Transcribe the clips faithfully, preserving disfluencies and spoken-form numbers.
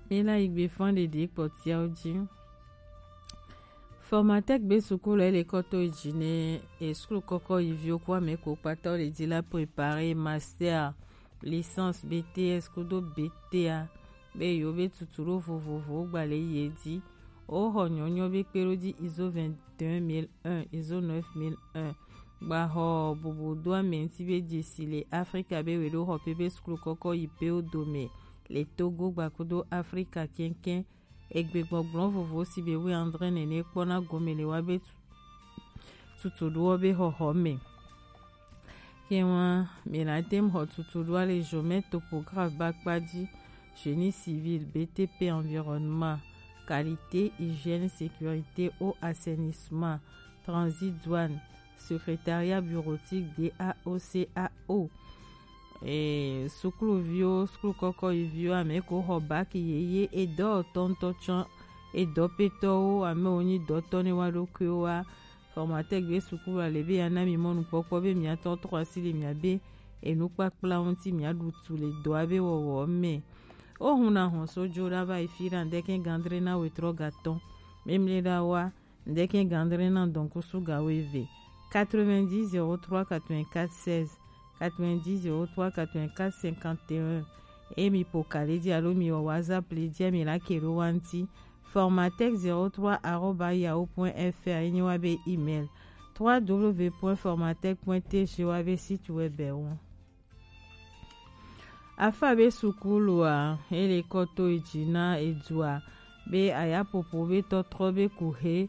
Mi la yi gbe fan ɖeɖe kpɔtiawo ji. Formatec be sukulu ele kɔto yi ji ne e sukulu kɔkɔ yi viwo ku ame ko kpata wo le ji la préparer master, licence, B T S kudo B T A be yewo be tutu ɖo vovovowo gba le yi e ji. Wo xɔ nyɔnyɔ be kpe ɖo ji ISO vingt et un mille un, ISO neuf mille un. Gba xɔ bubu do ame ŋuti be jesi le Afrika be we ɖo xɔ pe be sukulu kɔkɔ yi pe wo dome le Togo gba kudo Afrika kɛnkɛn. Egbe gbɔgblɔ vovo si be wi andre nene kpɔna gome le wa be tu-, tutu ɖowo be xɔxɔ me. Kɛwa mi la tem xɔ tutu ɖoa le Jomɛ topographe ba kpa ji, génie civil, B T P environnement, qualité, hygiène, sécurité, eau, assainissement, transit, douane, secrétariat bureautique, D A O C A O. E, sukuluviwo, sukulu kɔkɔ yi viwo, ame ko xɔ bac yeye, edɔ tɔntɔ tsɔ, edɔ petɔwo, ame wo nyi dɔtɔ ne wa ɖokuiwo wa. Formatec be sukulu ale be ya na mi mɔnukpɔkpɔ be mia tɔ trɔ asi le mia be enukpakpla ŋuti mia ɖu tu le dɔa be wɔwɔ me. O hun na hɔn so jo ɖa va yi fi ɖa ŋdɛkɛ gandre na wetrɔ gatɔn. Memle ɖa wa, ŋdɛkɛ gandre na dɔnkusu ga weve. Quatre-vingt-dix zéro trois quatre-vingt-quatre seize, quatre-vingt-dix zéro trois quatre-vingt-quatre cinquante et un. E mi po ka le ji alo mi wɔ WhatsApp le ji mi la ke ɖo wa ŋti. Formatec zéro trois arobase yahoo point F R enyi wa be email. Trois W point formatec point T G wa be site web wo. Afa be sukulua, ele kɔto yi ji na edua, be ayapopo be tɔtrɔ be kuhe,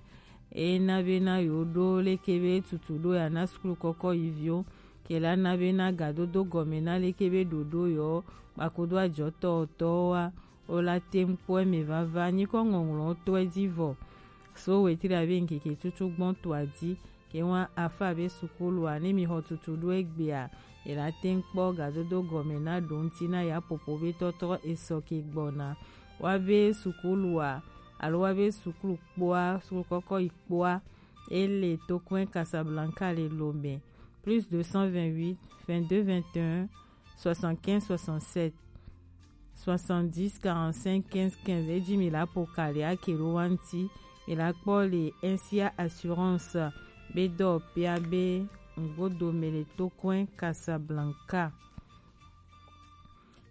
ena be na yo ɖo leke be tutu ɖo ya na sukulu kɔkɔ yi viwo, ke la na be na gadodo gɔme na leke be ɖoɖo yɔ, kpakodo ajɔtɔ tɔwa, o la tem kpɔ eme vava, nyikɔ ŋɔŋlɔ tɔe ji vɔ. So wetri abe ŋkeke tutu gbɔn to aji, ke wa afa be sukulua, ne mi xɔ tutu ɖo egbea, e la tem kpɔ gadodo gɔme na ɖo ŋti na ya popo be tɔtrɔ esɔ ke gbɔna. Wa be sukulua, alo wa be sukulu kpoa, sukulu kɔkɔ yi kpoa, ele to kɔn Casablanca le Lomé. Plus deux cent vingt-huit, vingt-deux vingt et un, soixante-quinze soixante-sept, soixante-dix quarante-cinq quinze quinze. Eji mi la po kali ake ɖo wa ŋti, mi la kpɔ le N C A Assurance be dɔ pia be ŋgodo me le to kɔn Casablanca.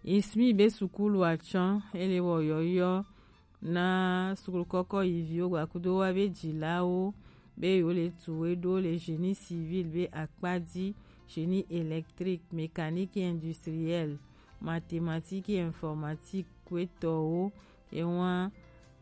Ismi be sukulu atsɔ, ele wɔ yɔyɔ na sukulu kɔkɔ yi viwo gbakudo wa be jilawo be yo le tu we ɖo le génie civil be akpa ji, génie électrique, mécanique industrielle, mathématique et informatique kwetɔwo. Ewa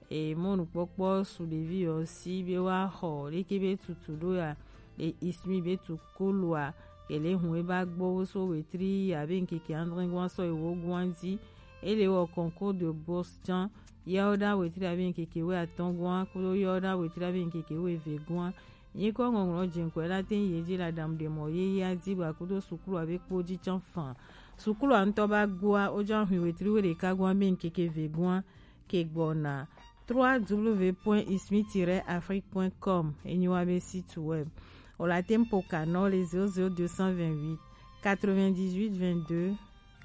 e mɔnukpɔkpɔ su ɖevi yɔ si be wa xɔ leke be tutu ɖo ya le ismi be tu kolua, ke le hun e ba gbɔ wo so wetri ya be ŋkeke andre gwan sɔ ewo gwan ji. Ele wɔ concours de bourse tsã, ya wo ɖa wetri ya be ŋkeke we atɔn gwan kudo ya wo ɖa wetri ya be ŋkeke we ve gwan. Nyikɔ ŋɔŋlɔ jeŋkɔe la te ye ji la dam de mɔ ye ya ji ba kudo sukulu abe kpo ji tsã fan. Sukulu ŋutɔ ba gua o ja hui wetri we ɖeka gwan be ŋkeke ve gwan ke gbɔna. Trois W point ismi tiret afrique point com enyi wa be site web. O la tem po kanɔ le zéro zéro deux cent vingt-huit, quatre-vingt-dix-huit, vingt-deux,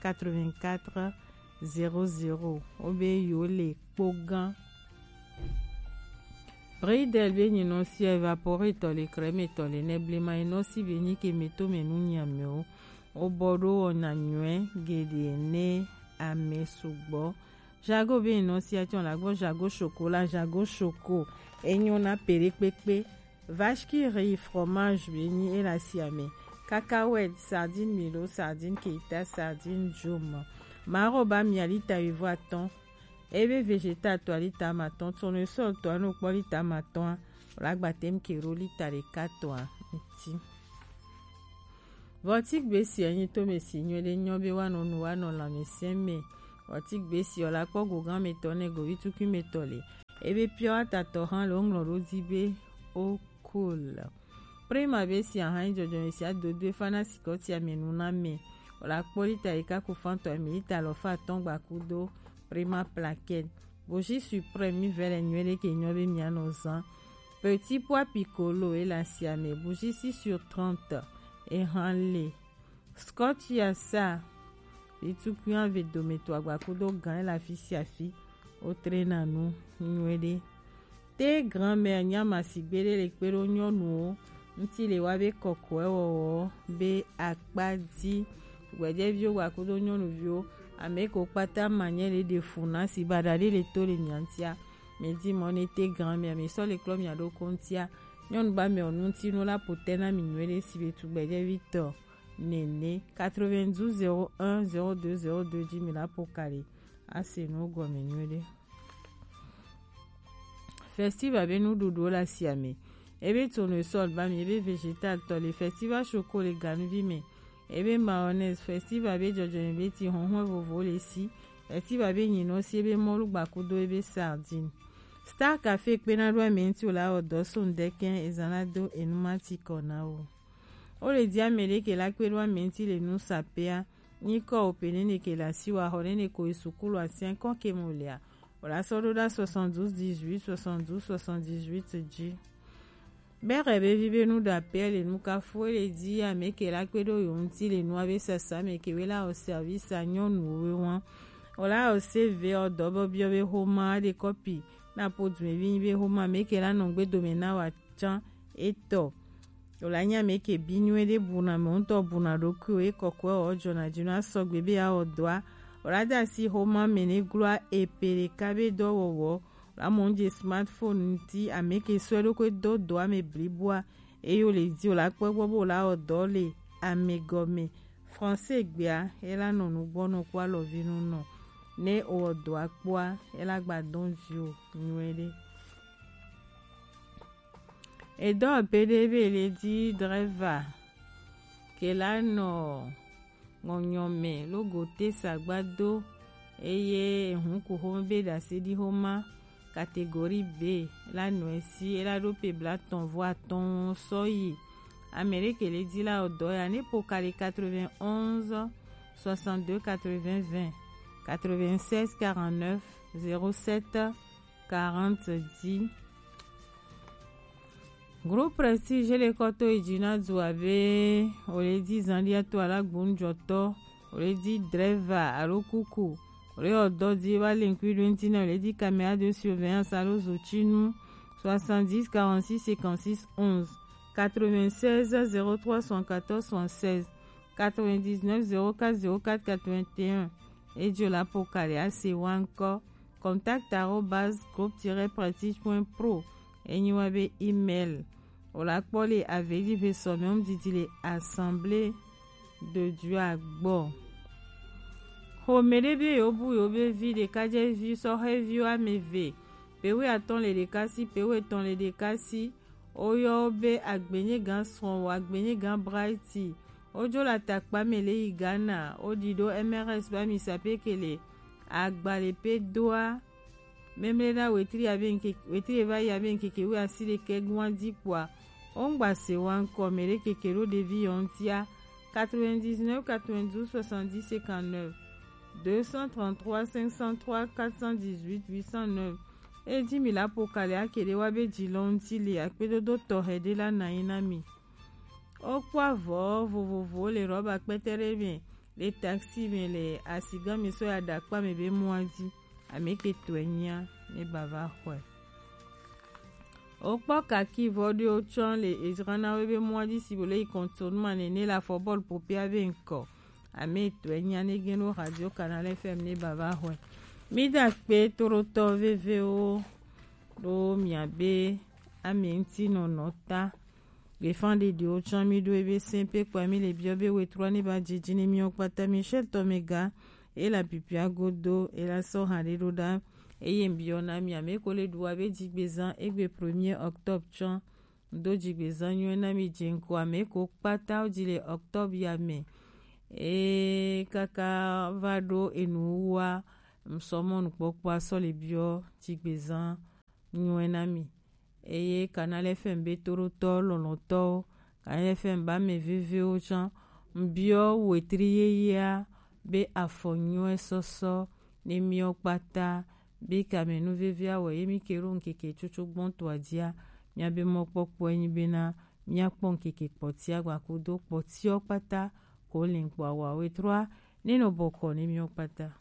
quatre-vingt-quatre, zéro zéro. O be yo le kpo gan. Bridel be nyinɔ si evapore tɔ le kreme tɔ le ne blema enɔ si be nyi ke me to me nu nyameo. O bɔ ɖo wɔna nyuɛ geɖe ne ame sugbɔ. Jago be nɔ sia tsɔ la gbɔ jago chocolat, jago choco. Enyo na pere kpekpe. Vache qui rit, fromage be nyi e la sia me. Cacahuète, sardine Milo, sardine Keita, sardine Joma. Maro ba mia lita evo atɔn. Ebe vegeta to lita matɔn, tournesol to no kpɔ lita matɔn. La gba tem ke ro lita ɖeka tɔa ŋti. Vɔti gbesi enyi to me si nyuie ɖe nyɔ be wa nɔ nu wa nɔ lãmesẽ me. Vɔti gbesi ɔ la kpɔ gogan me tɔ ne govi tukui me tɔ le. Ebe piɔ atatɔ hã le woŋlɔ ɖo di be o cool. Prima be si ahã jɔjɔ me si adodo efa na sikɔtia me nu na me. O la kpɔ lita ɖeka ku fantɔ me lita alɔfa atɔn gba kudo Prima plaquette. Bougie suprême mi vɛ le nyuie ɖe ke nyɔ be mia nɔ zan. Petit pois piccolo e la sia me bougie six sur trente e hã le. Scotch ya sa. Vitukui ave dome to agba kudo gan e la fi sia fi. wotrena nu nyuiɖe. Te grand-mère nya masigbe ɖe le kpe ɖo nyɔnuwo ŋuti le wa be kɔkɔe wɔwɔ be akpa dzi. Gbɛjɛviwo gba kudo nyɔnuviwo, ame ko kpata manyɛ le ɖe fu na si baɖa ɖe le to le mia ŋutia. Mi di mɔ ne te grand-mère mi sɔ le klɔ mia ɖo ko ŋutia. Nyɔnu ba mɛ o ŋuti nu la po te na mi nyuiɖe si be tugbɛjɛvi tɔ nene quatre-vingt-douze zéro un zéro deux zéro deux dzi mi la po kali. Ase nu gɔme nyuiɖe. Festival be nuɖuɖuwo le asia me. Ebe tournesol ba mi, ebe vegetal tɔ le festival choco le ganuvi me. Ebe mayonnaise festival be jɔjɔme be ti hɔnhɔn vovo le si. Festival be nyinɔ si ebe mɔlu gbakudo ebe sardine. Star Café kpena ɖo ame ŋuti wòle awɔ dɔ so ŋdɛkɛ ezan la do enu ma ti kɔ na wo. Wo le di ame ɖe ke la kpe ɖo ame ŋuti le nu sapea. Nyikɔ wo pe nene ke le asi wa xɔ nene ko yi sukulu asia kɔ ke mo lea. Wòle asɔ ɖo ɖa soixante-douze dix-huit soixante-douze soixante-dix-huit dzi. Bɛrɛ be vi be nu ɖa pɛ le nu kafu le di ame ke la kpe ɖo yo ŋuti le nua be sasa me ke we la o service a nyɔnuwo we wan. Wòle o se ve o dɔ bɔ biɔ be xoma ɖe kɔpi na po du evi be xoma me ke la nɔ gbe dome na wa tsã etɔ. Wòle nya me ke bi nyuie ɖe buna me ŋutɔ buna ɖokuiwo ye kɔkɔe wɔ jɔna dzi na sɔgbe be awɔ dɔa. Wòle da si xoma me ne gloa epe ɖeka be dɔwɔwɔ. Wòle mɔ ŋdze smartphone ŋuti ame ke sɔe ɖo ko do dɔa me bliboa. Eye wòle di wòle akpɔ gbɔ be wòle awɔ dɔ le ame gɔme. Français gbea ela nɔ nugbɔ nɔ kpɔ alɔvi nu nɔ. Ne wɔ dɔa kpɔa ela gba dɔn vi o nyuie ɖe. Edɔ pe ɖe be le di driver ke la nɔ ŋɔnyɔ me logo te sagba do eye ehun ku xome be ɖase ɖi xoma catégorie B la nɔe si ela ɖo pe blatɔn vo atɔn sɔyi. Ame ɖe ke le di la o dɔ ya ne po kali quatre-vingt-onze soixante-deux quatre-vingts vingt quatre-vingt-seize quarante-neuf zéro sept quarante dix. Groupe Prestige le kɔto idzi na du abe wòle di zandia to alagbonujɔtɔ wòle di driver alo kuku wòle ɔdɔ di va le ŋkui ɖo ŋuti na wòle di caméra de surveillance alo zotinu soixante-dix quarante-six cinquante-six onze quatre-vingt-seize zéro trois soixante-quatorze soixante-seize quatre-vingt-dix-neuf zéro quatre zéro quatre quatre-vingt-un. Edzo la po kali ase wa ŋkɔ contact arobase groupe tiret prestige point pro. Enyi wa be email. Wòle akpɔ le avedi ve sɔmɛ ŋdidi le Assemblée de Dieu agbɔ. Xome ɖe be yewo bu yewo be vi ɖekadzevi sɔhɛviwo ame eve, pewu atɔn le ɖeka si, pewu etɔn le ɖeka si. Woyɔ wo be Agbenyegan Srɔ̃wò, Agbenyegan Brighty. Wodzo le atakpa me le yi Ghana. Woɖi ɖo M R S ba mi sapekele. Agbalẽ pe doa. Memle na wetri abe ŋkeke, wetri eva yi abe ŋkeke wu asi ɖekɛ gua di kpɔa. Wongba se wa ŋkɔ me ɖe keke ɖo ɖevi yɔ ŋutia. Quatre-vingt-dix-neuf quatre-vingt-douze soixante-dix cinquante-neuf deux cent trente-trois cinq cent trois quatre cent dix-huit huit cent neuf. Eji mi la po kali ake ɖe wa be ji lɔ ŋuti le akpedodo tɔxɛ ɖe la na yi na mi. Wokpɔ avɔ vovovowo le rɔba kpɛtɛ ɖe me le taxi me le asigã mi sɔ ya ɖe akpa me be mɔa dzi. Ame ke tɔe nyia ne bava xɔe. Wokpɔ kaki vɔ ɖewo tsɔ le edzra na wo be mɔa dzi si bo le yi kɔntonu ma nene le afɔ bɔl popea be ŋkɔ. Ame etɔe nyia ne gen ɖo Radio Canal F M ne bava xɔe. Mi da kpe toɖotɔ vevewo ɖo mia be ame ŋuti nɔnɔ ta. Gbefan ɖeɖewo tsã mi ɖo ebe sɛn pe kpɔa mi le biɔ be wetrɔ ne va dzidzi ne miɔ kpata mi shɛ tɔ me ga. Ela pipia godo ela sɔ ha ɖe ɖo ɖa. Eye biɔ na mi ame ko le ɖu wa be dzigbezan egbe premier octobre tsã. Do dzigbezan nyuie na mi dze ŋkɔ ame ko kpata wo dzi le octobre ya me. Eye kaka va ɖo enu wa ŋsɔmɔ nukpɔkpɔa sɔ le biɔ dzigbezan nyuie na mi. Eye Canal F M be toɖotɔ lɔlɔtɔwo, Canal F M ba ame vevewo tsã, ŋbiɔ wetri yeyea be afɔ nyuie sɔsɔ ne miɔ kpata be kame nu vevia wɔ ye mi ke ɖo ŋkeke tsotso gbɔntɔa dzia, miabe mɔkpɔkpɔe nyi bena miakpɔ ŋkeke kpɔtia gbakudo kpɔtiɔ kpata ko le ŋkpɔ awa wetrɔa ne nɔ bɔkɔ ne miɔ kpata.